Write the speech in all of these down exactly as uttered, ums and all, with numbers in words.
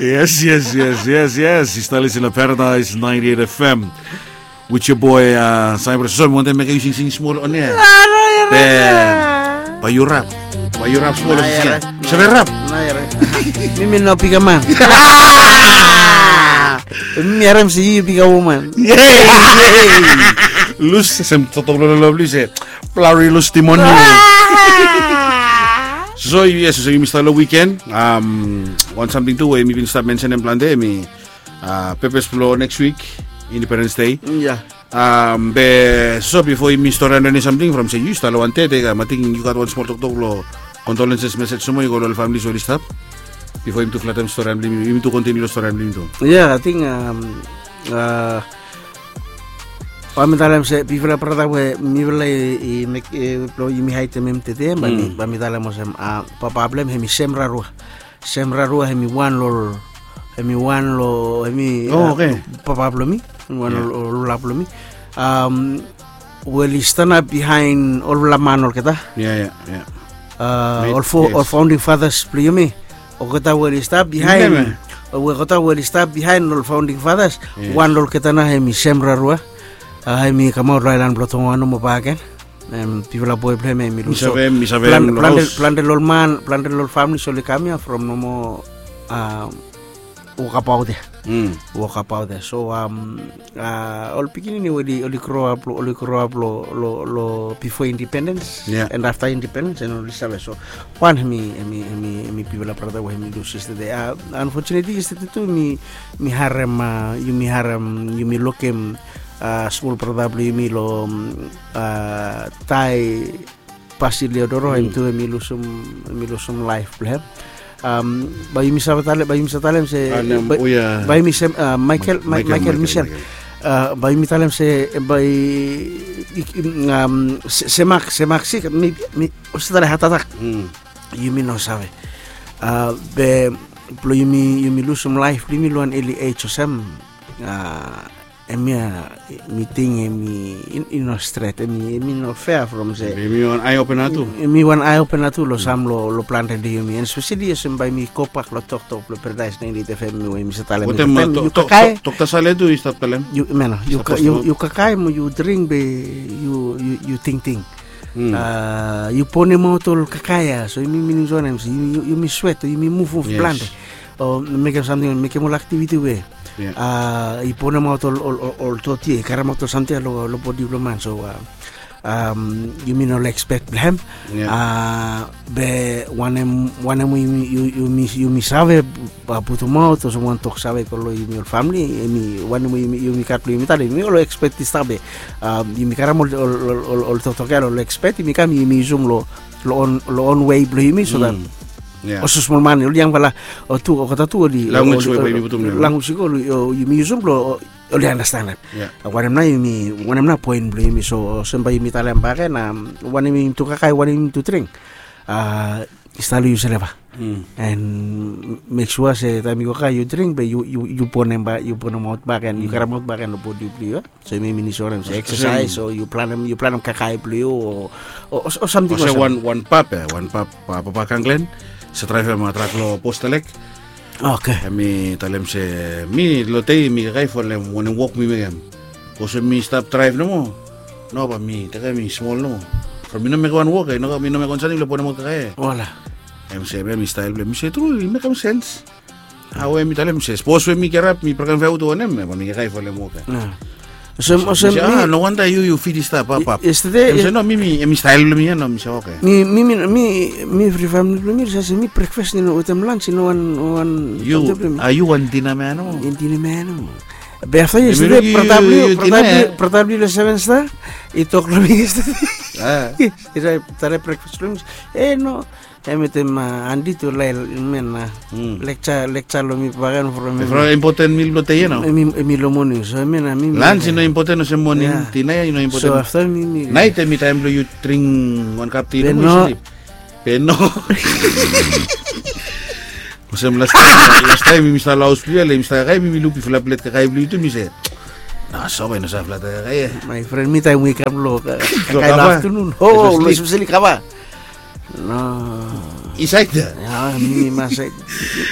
Yes, yes, yes, yes, yes. Yu stap lisin long Paradise ninety-eight F M with your boy, uh, Cyprus. So mi wantem mekem yu singsing smol on air. Bae yu rap. Bae yu rap smol. Save rap? Mi mi no bigman. Mi harem se yu bigwoman. Lus sem toktok blong lolo blong yu se blari lus timoni. So yes, so yumi stap long wiken. Wan samting tu we mi bin stap mensenem plante, mi pepes blong neks wik, Independence Day. Be so bifo yumi storian eni samting from se yu stap long wan tete kam, ating yu gat wan smol toktok long condolences message nomo yu go long ol families we oli stap bifo yumi tu flatem storian blong yumi, yumi tu kontiniu long storian blong yumi tu. Ya, ating bae mi talem se bifala brata we mifala i mek blong yumi haedem hem tete, bae mi talem olsem, papa blong hem hemi Sem Rarua. Sem Rarua hemi wan long, hemi wan long, hemi papa blong mi, wan long olfala blong mi, we oli stanap bihaen olfala man olgeta. Ol founding fathers blong yumi, olgeta we oli stap bihaen, olgeta we oli stap bihaen ol founding fathers. Wan long olgeta nao hemi Sem Rarua. Hemi kamaot long aelan blong Tonga nomo bakegen. Bifala boe blong hem hemi lus. Plante long ol man, plante long ol famili oli kam ia from nomo wokabaot ia. Wokabaot ia. So ol pikinini we oli groap, oli groap long bifo independens and afta independens and oli save. So wan hemi, hemi bifala brata we hemi lus yestede. Unfortunately yestede tu mi harem, yumi harem, yumi lukim smol brata blong yumi long Tae Basilio Doro, hem tu hemi lusum, hemi lusum laef blong hem. Bae yumi save talem, bae yumi save talem se bae yumi se Michael, Michael Michel. Bae yumi talem se bae se mak, se mak sik, mi olsem talem heart attack. Yumi no save. Be blong yumi, yumi lusum laef blong yumi long wan eli ej olsem, hemia mi ting hemi i no stret, hemi no fea from se hemi wan ae opena tu. Hemi wan ae opena tu long sam long plante blong yumi, and espeseli olsem bae mi gobak long toktok blong Paradise ninety-eight F M we mi save talem. Yu kakae, Dokta Sale tu i stap talem. Yu kakae mo yu dring be yu tingting. Yu ponemaot ol kakae ia, so yumi minim olsem wanem se yumi swet o yumi muvmuv plante o mekem samting, mekem ol aktiviti we i ponemaot ol, ol doti ia, i karemaot ol samting ia long bodi blong man. So yumi no ekspek blong hem. Be wanem, wanem we yumi save putumaot olsem wan toksave i go long yumi ol famili, hemi wanem we yumi gat blong yumi talem, yumi ol ekspet i stap ia. Yumi karem ol toktok ia long ekspet, yumi kam yumi yusum long long on wei blong yumi so that olsem smol man, ol yangfala o tu, olgeta tu oli language i go, yumi yusum blong oli andastanem. Wanem nao yumi, wanem nao poen blong yumi? So olsem bae yumi talem bakegen, wanem yumi tu kakae, wanem yumi tu dring, i stap long yu seleva. And mek sua se taem yu go kakae yu dring be yu, yu ponemaot bakegen, yu karemaot bakegen long bodi blong yu. So yumi minim olsem se eksasaes o yu planem, yu planem kakae blong yu o samting olsem. Wan, wan pap, wan pap, papa Kanglen, save draevem trak long Bostalek. Oke. Hemi talem se mi long dei mi kakae folem wanem wok mi mekem. Bikos we mi stap draev nomo, no bae mi tekem, mi smol nomo. From mi no mekem wan wok, mi no mekem wan samting blong ponemaot kakae. Wala. Hem se, hemi stael blong hem. Mi se tru, i mekem sens. Awe mi talem se sapos we mi kirap mi brekem fea tu wanem, bae mi kakae folem wok ia. Olsem, olsem mi, no wanda yu, yu fit i stap, pap, pap. Yestede, hem se no, mi, mi, hemi stael blong mi ia, no, mi se oke. Mi, mi, mi, mi evri famili blong mi oli save se mi brekfas i no wetem lans i no wan, wan. Yu, yu wan dina man nomo. Dina man nomo. Be afta yestede brata blong yu, brata blong yu long Seven Star i tok long mi yestede. I save tare brekfas blong mi. E no, Hem wetem Andi tu lael men na leksa, leksa long mi bakegen from, from impoten mil blong dei ia nao. Hem i long moning, so hem na mi, lans i no impoten olsem moning, dina ia i no impoten. So afta mi, mi naet hemi taem blong yu dring wan kap ti, be no, be no. Olsem lastaem, lastaem mi stap long haos blong yu ia, mi stap kakae, mi luk bifala plet kakae blong yu tu, mi se, no, so bae i no save flata kakae ia. My friend, mi taem we i kam long kakae long aftenun, o, long espeseli kava. No. Insaed ya. Ya, mi mas saed.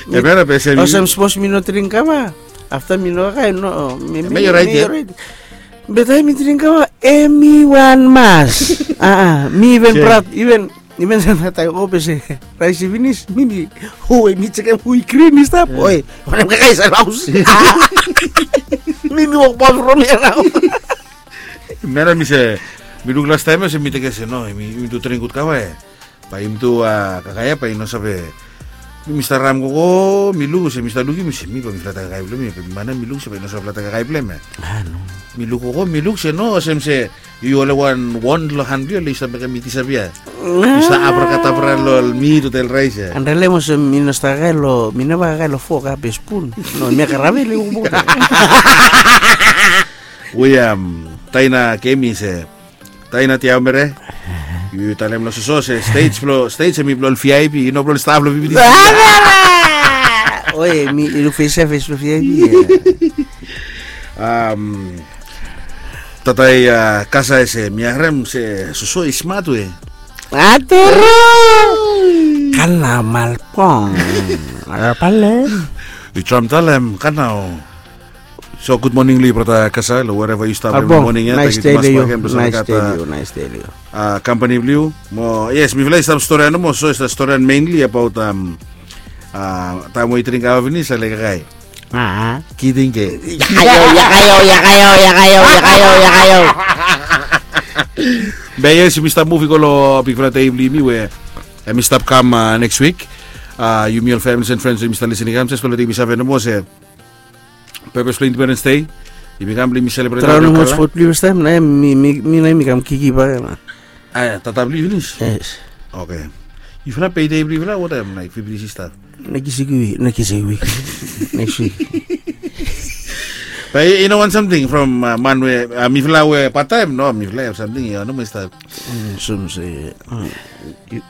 Em ya na be se mi. Olsem sapos mi no dring kava, afta mi no kakae, no, mi, mi, mi orait ya. Be taem mi dring kava, em i wan mas. A, a, mi even praod, even, even se na taem o be se raes i finis, mi, mi, o, mi jekem hu i grin i stap. Oe, wanem kakae i stap haos. Mi, mi wok bam from ya nao. Mera mi se, mi luk lastaem ya se mi tekem se no, mi, mi tu dring gud kava ya. Bae yumi tu kakae ya bae i no save. Mi stap ram gogo, mi luk se mi stap lukim se mi bae mi flata kakae blong mi, be mi mana mi luk se bae i no save flata kakae blong hem ya. Mi luk gogo, mi luk se no, olsem se yu ole wan won long han blong yu, ole yu stap mekem mi disapia. Yu stap abrakadabra long mi tu tel raes ya. Anrele mo se mi no stap kakae long, mi neva kakae long fok a be spun. No, mi karave le wok. William, taina kemi se. Taina tiau mere. Yu talem long soso se stage blong, stage hemi blong ol V I P, i no blong ol staf blong V I P. Oe, mi luk fes ya fes blong V I P. Tatai kasa ese mi harem se soso i smat we. Aturu. Kana malpong. Pale. Yu tram talem kana o. So gud moning long yu brata Kasa, long wherever yu stap long moning ya. Thank you tumas bakem blong save gat kampani blong yu. Mo yes, mifala i stap storian nomo, so i stap storian mainly abaot taem we i dring kava finis ale kakae. Kiting ke. Yakayo, yakayo, yakayo, yakayo, yakayo, yakayo. Be yes, yumi stap muv i go long bigfala dei blong yumi we hemi stap kam neks wik. Yumi ol families and friends we yumi stap lisin i kam, jes blong letem yumi save nomo se purpose blong Independence Day. Yumi kam blong yumi selebrate. Travel nomo spot blong yu fastaem na mi, mi, mi na mi kam kiki bak ya na. A ya, tata blong yu finis. Yes. Oke. Yufala payday blong yufala wanem, laek fifty staf? Neks wik, neks wik. Neks wik. Bae i no wan samting from man we mifala we pattaem, no, mifala i have samting i no moa i stap. Olsem se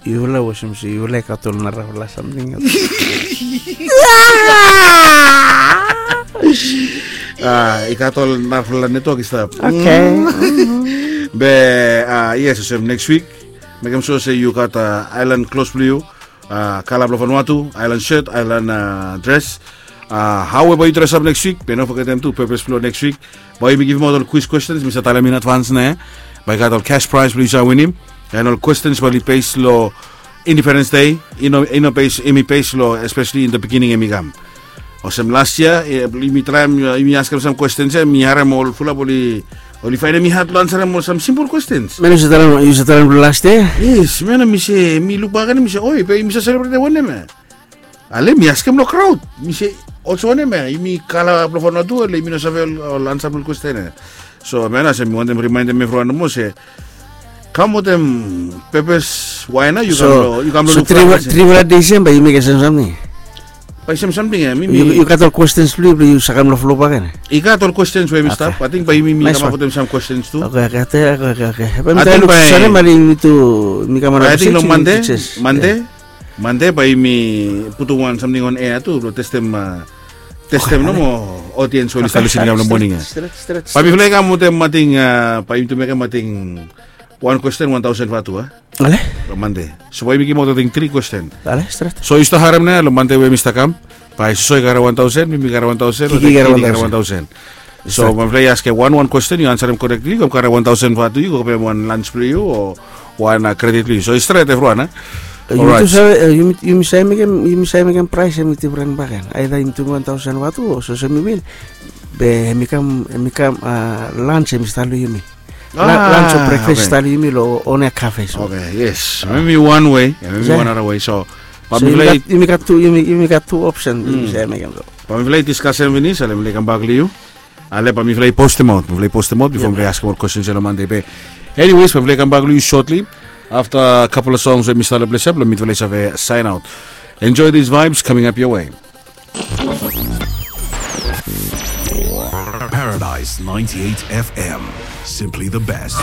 Yufala olsem se yufala i gat ol narafala samting. I gat ol narafala netwok i stap. Oke. Be yes, olsem neks wik mekem sua se yu gat aelan klos blong yu, kala blong Vanuatu, aelan set, aelan dres. Hao we bae yu dresap neks wik, be no fogetem tu purpose blong neks wik. Bae yumi givimaot ol kwis kwestens, mi save talem in advance nao. Bae i gat ol cash prize blong yu save winim. And ol kwestens bae oli base long Independence Day. I no, i no base, hemi base long especially in the beginning hemi kam. Olsem las yia yumi traem, yumi askem sam kwestens ya, mi harem ol fulap oli, oli faenem i had blong ansarem ol sam simpol kwestens. Man, yu save talem, yu save talem blong las yia? Yes, man, mi se, mi lukbak agen mi se, oi, be yumi save selebretem wanem ya? Ale mi askem long kraod, mi se, olsem wanem ya, yumi kala blong Vanuatu, ale yumi no save ol ansa blong ol kwesten ya. So man, olsem mi wantem rimaenem evriwan nomo se kam wetem purpose, wae nao yu kam long, yu kam long luk. So trifala dei sem bae yu mekem sem samting. Bae sem samting ya, mi, mi. Yu gat ol kwestens blong yu blong yu save kam long flo bakegen? I gat ol kwestens we mi stap. Ating bae yumi, mi kamap wetem sam kwestens tu. Oke, oke, oke, oke. Bae mi try luk save, ale yumi tu, mi kam around. Ating long Mande, Mande. Mande bae yumi putum wan samting on air tu blong testem, testem nomo odiens we oli stap lisin i kam long moning ya. Bae mifala i kam wetem ating, bae yumi tu mekem ating wan kwesten wan taosen vatu a. Ale. Long Mande. So bae yumi givimaot ating tri kwesten. Ale, stret. So yu stap harem nao long Mande we mi stap kam. Bae soso i karem wan taosen, mi, mi karem wan taosen, Kiki karem wan taosen. So bae mifala i askem wan wan kwesten, yu ansarem correctly, yu kam karem wan taosen vatu, yu go givim wan lunch blong yu o wan kredit blong yu. So i stret evriwan a. Yumi tu save, yumi save mekem, yumi save mekem praes hemi difren bakegen. Aida yumi tu wan taosen vatu o so se mi win. Be hemi kam, hemi kam lunch hemi stap long yumi. Lunch o brekfas i stap long yumi long One Cafe. Oke, yes. Hemi wan wei, hemi wan nara wei. So bae mifala i, yumi gat tu, yumi gat tu opsen yumi save mekem so. Bae mifala i diskasem finis, ale mifala i kambak long yu. Ale bae mifala i postemaot, mifala i postemaot bifo mifala i askem ol kwestens ya long Mande be. Anyways, bae mifala i kambak long yu shortly afta a couple of songs we mi stap long ples ya blong mifala i save sign out. Enjoy these vibes coming up your way. Paradise ninety-eight F M. Simply the best.